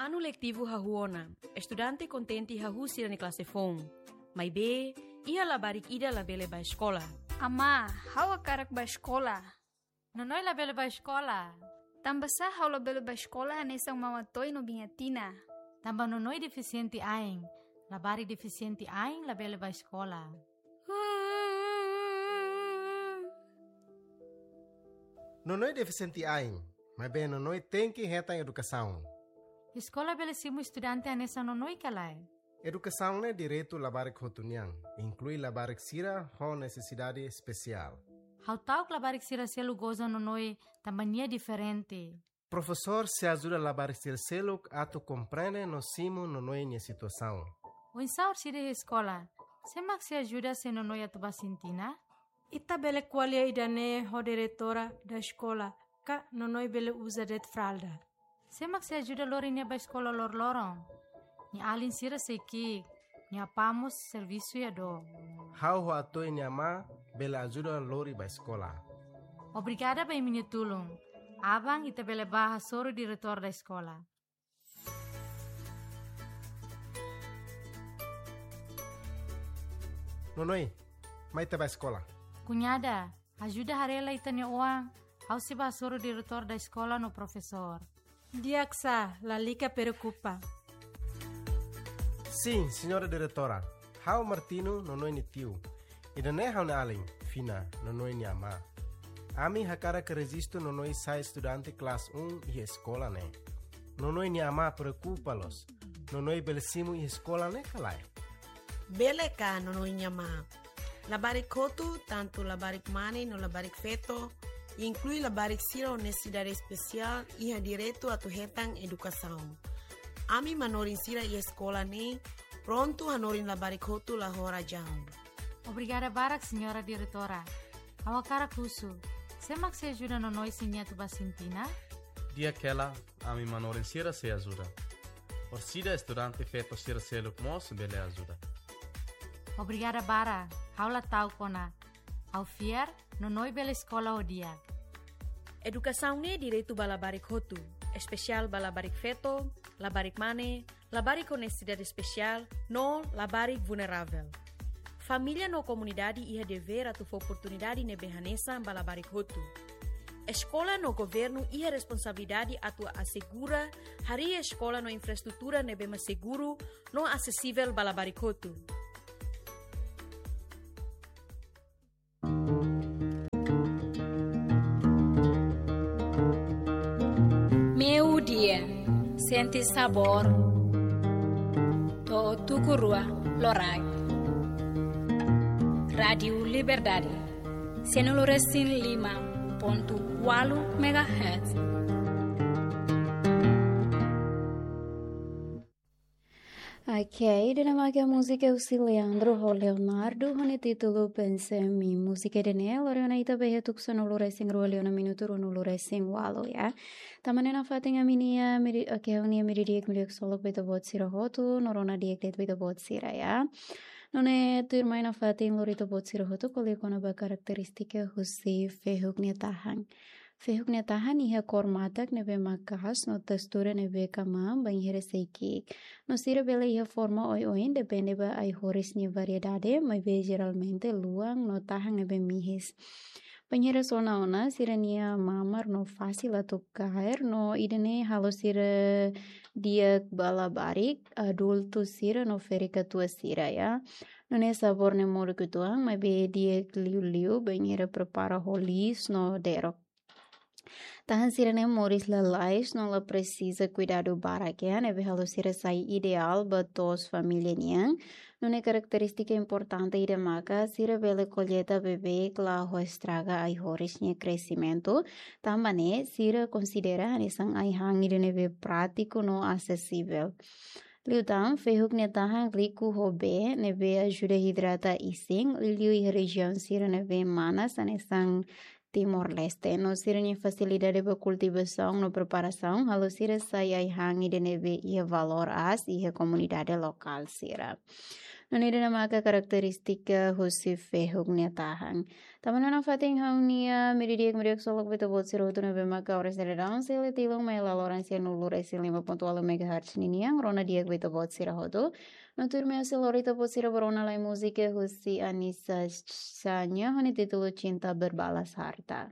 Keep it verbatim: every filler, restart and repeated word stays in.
Anu letivu hahú ona, estudante kontente hahú sira-nia klase foun. Maibé, iha labarik ida labele bá eskola. Amá, ha'u hakarak bá eskola. Nonoi labele bá eskola. Tanbasá ha'u labele bá eskola hanesan Mama Toy no Biña Tina? Tanba Nonoi defisiente ain. Labarik defisiente ain labele bá eskola. Nonoi defisiente ain, maibé Nonoi tenke hetan edukasaun. Eskola bele simu estudante hanesan Nonoi ka lae? Edukasaun ne'e direitu labarik hotu nian, inklui labarik sira ho nesesidade espesiál. Ha'u ta'uk labarik sira seluk goza Nonoi tanba nia diferente. Profesór sei ajuda labarik sira seluk atu komprende no simu Nonoi nia situasaun. Oinsá orsida iha eskola? Sé mak sei ajuda se Nonoi atu bá Sintina? Ita bele ko'alia ida-ne'e ho diretora da eskola, ka Nonoi bele uza de'it fralda. Sé mak sei ajuda lori nia bá eskola loroloron? Nia alin sira sei ki'ik, nia apá mós servisu iha dook. Ha'u ho Atoy nia amá bele ajuda lori bá eskola. Obrigada ba imi-nia tulun. Aban ita bele bá hasoru diretór da eskola. Nonoi, mai ita bá eskola. Kuñada, ajuda haree lai ita-nia oan, ha'u sei bá hasoru diretór da eskola no profesór. Di'ak sá, lalika preokupa. Sin, señora diretora. Ha'u Martino, Nonoi nia tiu. Ida-ne'e ha'u-nia alin, Fina, Nonoi nia amá. Ami hakarak rejistu Nonoi sai estudante klase um iha eskola ne'e. Nonoi nia amá preokupa loos. Nonoi bele simu iha eskola ne'e ka lae? Bele ka, Nonoi nia amá. Labarik hotu, tantu labarik mane no labarik feto, inklui labarik sira ho nesesidade espesiál, iha direitu atu hetan edukasaun. Ami manorin sira iha eskola ne'e prontu hanorin labarik hotu la ho razaun. Obrigada barak, señora diretora. Ha'u hakarak husu, sé mak sei ajuda Nonoi se nia atu bá Sintina? Di'ak hela, ami manorin sira sei ajuda. Orsida estudante feto sira seluk mós bele ajuda. Obrigada barak, ha'u la ta'uk ona. Ha'u fiar, Nonoi bele eskola ho di'ak. Edukasaun ne'e direitu ba labarik hotu, espesiál ba labarik feto, labarik mane, labarik ho nesesidade espesiál, no labarik vulneravel. Família no komunidade iha devér atu fó oportunidade ne'ebé hanesan ba labarik hotu. Eskola no governu iha responsabilidade atu asegura harii eskola no infraestrutura ne'ebé mak seguru no asesivel ba labarik hotu. Meiudia, sente sabór to'o tuku rua loraik. Rádiu Liberdade, sanulu resin lima pontu ualu megahertz. Ok, ida-ne'e mak múzika husi Leandro ho Leonardo, ho nia títulu Pensa em Mim. Múzika ida-ne'e lori ona ita ba iha tuku sanulu resin rua liu ona minutu ruanulu resin ualu, ya. Tanba ne'e nafatin ami-nia meri-, ok, ha'u-nia meiudia di'ak liu ksolok ba ita-boot sira hotu, no rona di'ak de'it ba ita-boot sira, ya. Nune'e tuirmai nafatin lori ita-boot sira hotu ko'alia kona-ba karakterístika husi fehuk nia tahan. Fehuk nia tahan iha kór matak ne'ebé maka'as no testura ne'ebé kamam bainhira sei ki'ik. No sira bele iha forma oioin depende ba ai-horis nia variedade, maibé jeralmente luan no tahan ne'ebé mihis. Bainhira sona ona, sira-nia mamar no fasil atu kaer, no ida-ne'e halo sira di'ak ba labarik, adultu sira no ferik-katuas sira, ya. Nune'e sabór ne'e molok uitoan, maibé di'ak liuliu bainhira prepara ho liis no derok. Tahan sira-ne'e moris lalais no la presiza kuidadu barak, ya, ne'ebé halo sira sai ideál ba to'os família nian. Nune'e karakterístika importante ida maka sira bele kolleita beibeik, la ho estraga ai-horis nia kresimentu. Tanba ne'e sira konsidera hanesan ai-han ida ne'ebé prátiku no asesivel. Liután, fehuk nia tahan riku ho bee, ne'ebé ajuda hidrata isin, liuliu iha rejiaun sira ne'ebé manas, hanesan Timor-Leste. No sira-nia fasilidade ba kultivasaun no preparasaun halo sira sai ai-han ida ne'ebé iha valór aas iha komunidade lokál sira. No ida-ne'e maka karakterístika husi fehuk nia tahan. Tanba ne'e nafatin ha'u-nia meiudia di'ak, meiudia di'ak, solok ba ita-boot sira hotu ne'ebé maka oras ne'e daudaun sira la iha tilun, mai laloran cien lima ponto walu megahertz ninian, rona di'ak ba ita-boot sira hotu. No tuirmai ha'u sei lori ita-boot sira ba rona lai múzika husi Anissa Xania, ho nia títulu Cinta Berbalas Harta.